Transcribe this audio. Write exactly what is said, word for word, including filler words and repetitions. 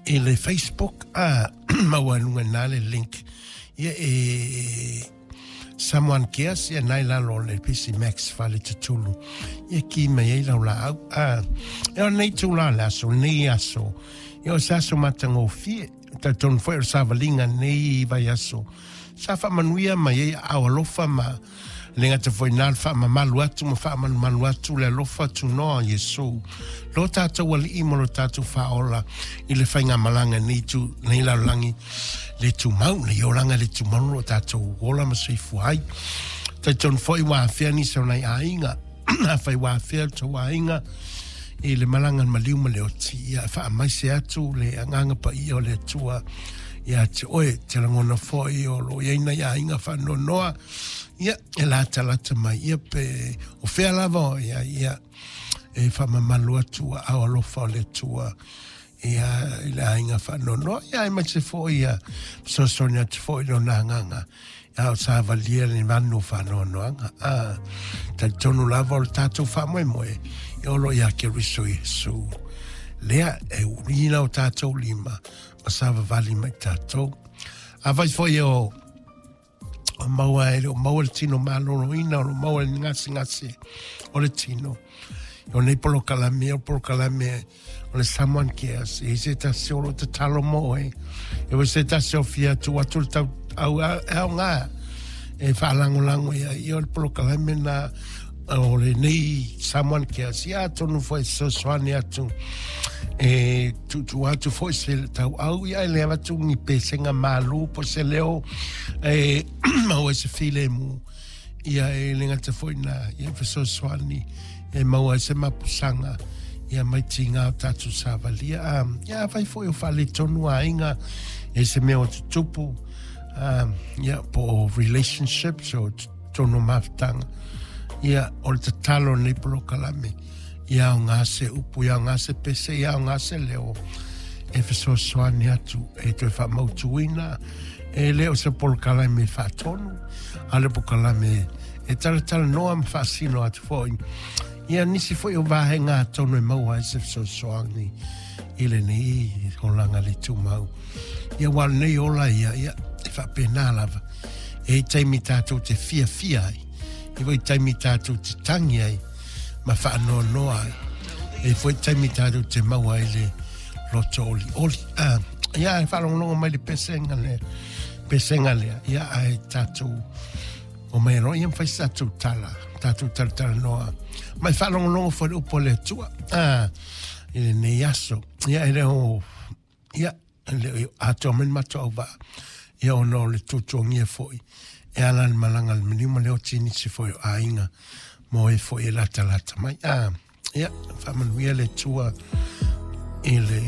I le Facebook, a maua luga na le link. Ia e Samoan Cares, ia nai lalo le P C Max fale tutulu. Ia ki mai ei lau la au. A, e o nei tūla le aso, nei aso. Ia o se aso matagofie, talitonu foi o le savaliga nei vai aso. Sa faamanuia mai ai ao alofa ma le gata foi na le faamamalu atu ma faamalumalu atu le alofa tunoa Iesu. Lo tātou alii mo lo tātou whaola i le whaingamalaga nei tu, nei lalolagi le tumau, nei olaga le tumau lo tātou ola ma soifua ai. Talitonu foi ua afea nisi o nai aiga, afai ua afea le tou aiga i le malaga maliu ma le oti, ia faamaise atu le agaga paia o le Atua ia te oe, te lagona foi o lo iai nai aiga faanoanoa, ia e latalata mai, ia pe o fea lava ia, ia e faamamalu atu ao alofa o le Atua ia i le aiga faanoanoa, ia e maise foi ia fesoasoani atu foi lona agaga ia o savalia le manu faanoanoaga. A talitonu lava o le tatou faamoemoe ia o lo ia Keriso Iesu lea e urina o tatou lima ma savavali mai tatou. A vai foi o o maua e o maua le tino maloloina, o lo maua le gasegase o le tino. O nei polokalame, o polokalame o le Samoan Cares, e se tasi o lo tatalo mo e, e se tasi o fia tu atu le tau au au ngā e whaalangolango ia i o le polokalame na o le nei Samoan Cares, ia tonu foi fesoasoani atu e tutu atu foi se tau au ia e le avatu ni pesenga malu po se leo e maua se filemu ia e le ngata foi na ia fesoasoani e maua se mapusanga ia mai tinga o tātou savalia. Um, ia vai foi o whaletonu a inga e se mea o tutupu um, ia po relationships o tono mafutanga ia o le tatalo nei polokalame ia o ngā se upu, ia o ngā se pese, ia o ngā se leo e fesoasoani atu e toe faamautuina e leo se polokalame faatonu a le polokalame e talatala noa ma faasino atu foi ia nisi foi o vahenga tonu e maua ai se fesoasoani i lenei olaga le tumau. Ia ua lenei ola ia, ia e faapena lava e taimi tātou te fiafia ai, e foi taimi tātou te tangi ai ma faanoanoa ai, e foi taimi tātou te maua ai le loto oli oli. Ah, ia e faalogologo mai le pesenga lea, pesenga lea, ia ai tātou o mai loa ia mawhai se tātou tala, tātou talatala noa. Mai faalogologo foi le upu o le Atua, ah, i lenei aso. Ia e leo, ia, e leo atoa mai le matou auvaa, ia ona o le tuatuagia foi, e ala le malaga le maliu ma le oti nisi foi o aiga mo e foi e latalata mai. Ah, ia, faamanuia le Atua i le